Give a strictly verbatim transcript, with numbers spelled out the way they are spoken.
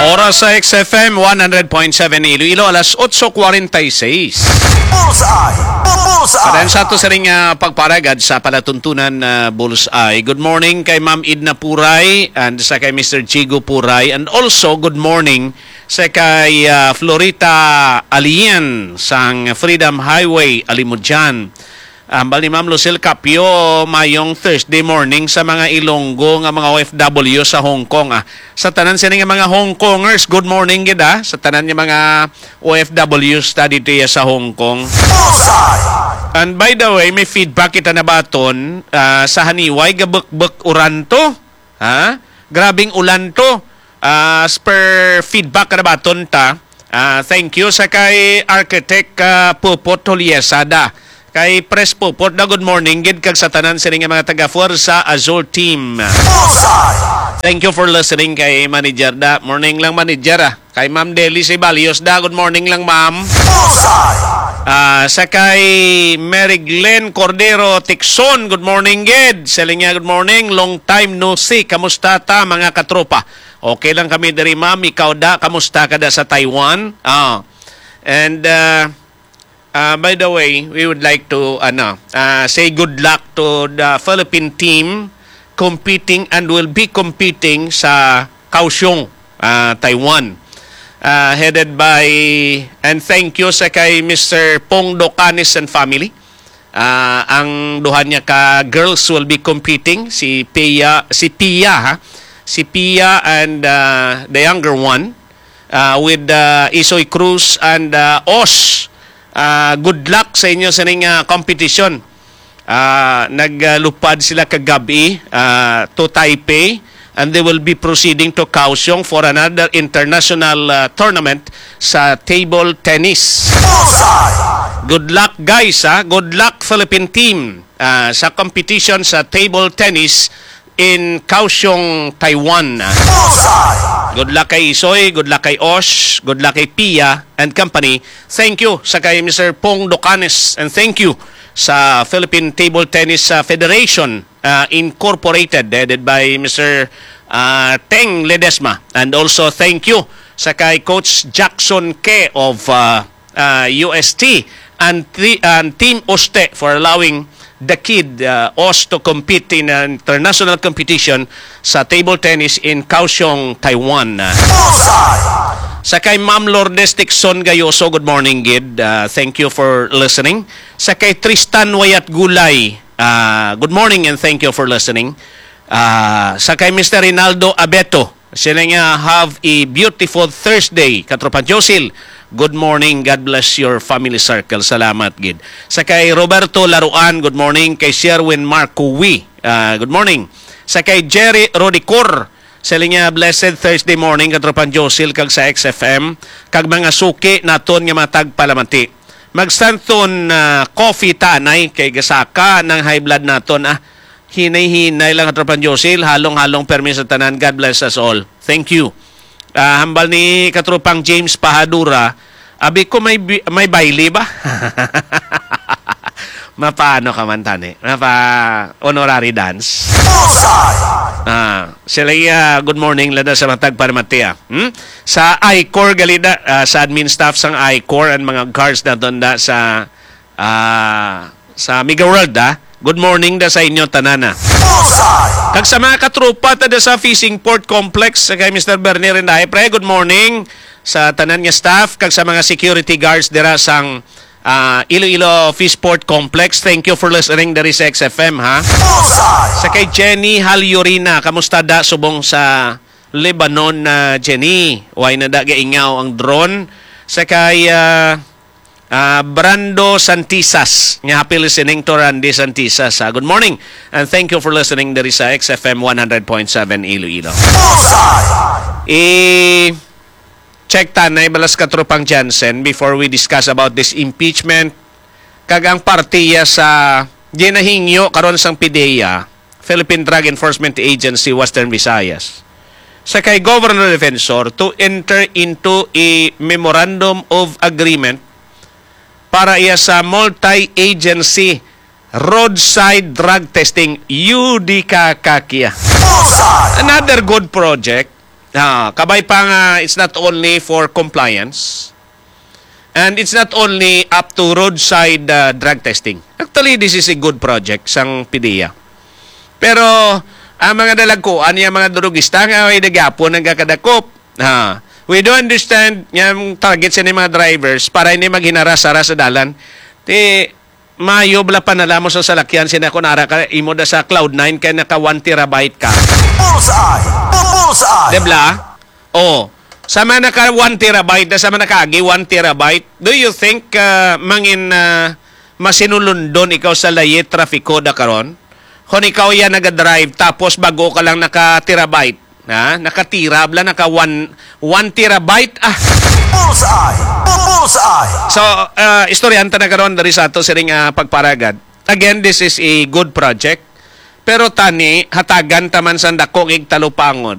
Oras sa X F M one hundred point seven Iloilo, alas otso kwarenta y seis. Bullseye! Bullseye! Padayon sa ato sining, ah, pagparagad sa palatuntunan, ah, Bullseye. Good morning kay Ma'am Edna Puray and sa kay Mister Jigo Puray, and also good morning sa kay, ah, Florita Alien sang Freedom Highway, Alimodian. Hambal ni Ma'am Lucille Capio, mayong Thursday morning sa mga Ilonggo nga mga O F W sa Hong Kong, ah. Sa tanan sini nga mga Hong Kongers, good morning gid, ah. Sa tanan nga mga O F Ws ta dito iya sa Hong Kong. Bullseye! And by the way, may feedback kita nabaton, ah, sa Haniway, gabukbuk uran to. Ha? Grabing ulan to. Ah, as per feedback na baton ta. Ah, thank you sa kay Architect, ah, Pupot Holiesada. Kay Pres Pupot na good morning gid kag sa tanan sini nga mga taga Fuerza Azul team. Bullseye! Thank you for listening kay Manager da. Morning lang, Manager, ah. Kay Ma'am Deli Sibalios da, good morning lang, ma'am. Bullseye! Ah, sa kay Mary Glenn Cordero Tixon, good morning gid. Sa linya, good morning. Long time no see. Kamusta ta, mga katropa? Okay lang kami diri, ma'am. Ikaw da, kamusta ka da sa Taiwan? Ah. And, ah, ah, by the way, we would like to, ano, ah, say good luck to the Philippine team competing and will be competing sa Kaohsiung, ah, Taiwan. Ah, headed by, and thank you sa kay Mister Pong Docanes and family. Ah, ang duha niya ka girls will be competing, si Pia, si Pia, ha? Si Pia and, ah, the younger one, ah, with, ah, Isoy Cruz and, ah, Os. Ah, good luck sa inyo sa ning, ah, competition. Ah, naglupad sila kagabi, ah, to Taipei, and they will be proceeding to Kaohsiung for another international, ah, tournament sa table tennis. Bullseye! Good luck, guys, ha? Good luck, Philippine team, ah, sa competition sa table tennis in Kaohsiung, Taiwan. Bullseye! Good luck kay Isoy, good luck kay Osh, good luck kay Pia and company. Thank you sa kay Mister Pong Docanes, and thank you sa Philippine Table Tennis, uh, Federation, uh, Incorporated, headed by Mister, uh, Teng Ledesma. And also thank you sa kay Coach Jackson Ke of, uh, uh, U S T and, thi-, and Team Oste for allowing the kid, uh, Os to compete in an international competition sa table tennis in Kaohsiung, Taiwan. Bullseye! Sa kay Ma'am Lourdes Tixon Gayoso, good morning gid. Uh, thank you for listening. Sa kay Tristan Wayat Gulay, uh, good morning and thank you for listening. Uh, sa kay Mister Rinaldo Abeto, sila nga, "Have a beautiful Thursday, Katropa Josil. Good morning. God bless your family circle." Salamat gid. Sa kay Roberto Laruan, good morning. Kay Sherwin Marco Wi, ah, good morning. Sa kay Jerry Rodicor, sila nga, "Blessed Thursday morning, Katropa Josil, kag sa X F M, kag mga suki naton nga mga tagpalamati." Mag-Santon, ah, coffee tanay kay gasaka ng high blood naton, ah. Hinay-hinay lang, Katropa Josil. Halong-halong permi sa tanan. God bless us all. Thank you. Ah, hambal ni Katropang James Pahadura, abi ko may bi-, may baile ba? Mapaano ka man, tani? Mapa honorary dance? Bullseye! Ah, sila, ah, good morning, lada sa matag para Matia. Hmm? Sa I-Corps, galida, ah, sa admin staff sang I-Corps, ang mga guards na tonda sa ah, sa Mega World, ah. Good morning da sa inyo tanan, ah. Bullseye! Kag sa mga katropa ta da sa Fishing Port Complex, sa kay Mister Bernie Rindahe, pre, good morning sa tanan nga staff, kag sa mga security guards dira sang, ah, Iloilo Fish Port Complex. Thank you for listening diri sa X F M, ha. Bullseye! Sa kay Jenny Halyorina, kamusta da subong sa Lebanon na Jenny? Way na da gaingaw ang drone? Sa kay, ah, Ah, Brando Santisas, nga happy listening to Randy Santisas, ah. Good morning, and thank you for listening diri sa X F M one hundred point seven Iloilo. Bullseye! I-check tanay balas Katropang Jansen before we discuss about this impeachment. Kag ang partiya sa ginahingyo karon sang PDEA, Philippine Drug Enforcement Agency, Western Visayas, sa kay Governor Defensor to enter into a memorandum of agreement para iya sa multi-agency roadside drug testing, U D K Kakia. Bullseye! Another good project. Ah, kabay pa nga, it's not only for compliance, and it's not only up to roadside, ah, drug testing. Actually, this is a good project sang PDEA. Pero ang mga dalagkuan, yung mga drugista nga may nagyapon nagakadakop. Ha. We do understand nga ang target sa mga drivers para hindi maghinaras-haras sa dalan. Ti, mayo bala pa nalamo sa salakyan sina kung ara ka imo da sa Cloud nine kay naka one terabyte ka. Bullseye! Bullseye! Debla? Oh. Sama naka one terabyte na sama nakaagi one terabyte. Do you think, ah, mangin, ah, masinulundon ikaw sa layi trafiko da karon? Kung ikaw yan nagadrive tapos bago ka lang naka terabyte, ha? Naka-tera bala, naka one, one terabyte. Ah, Bullseye! Bullseye! So, ah, istoryahan ta na karon diri sa ato siring, ah, pagparagad. Again, this is a good project. Pero tani, hatagan ta man sang dako nga igtalupangon.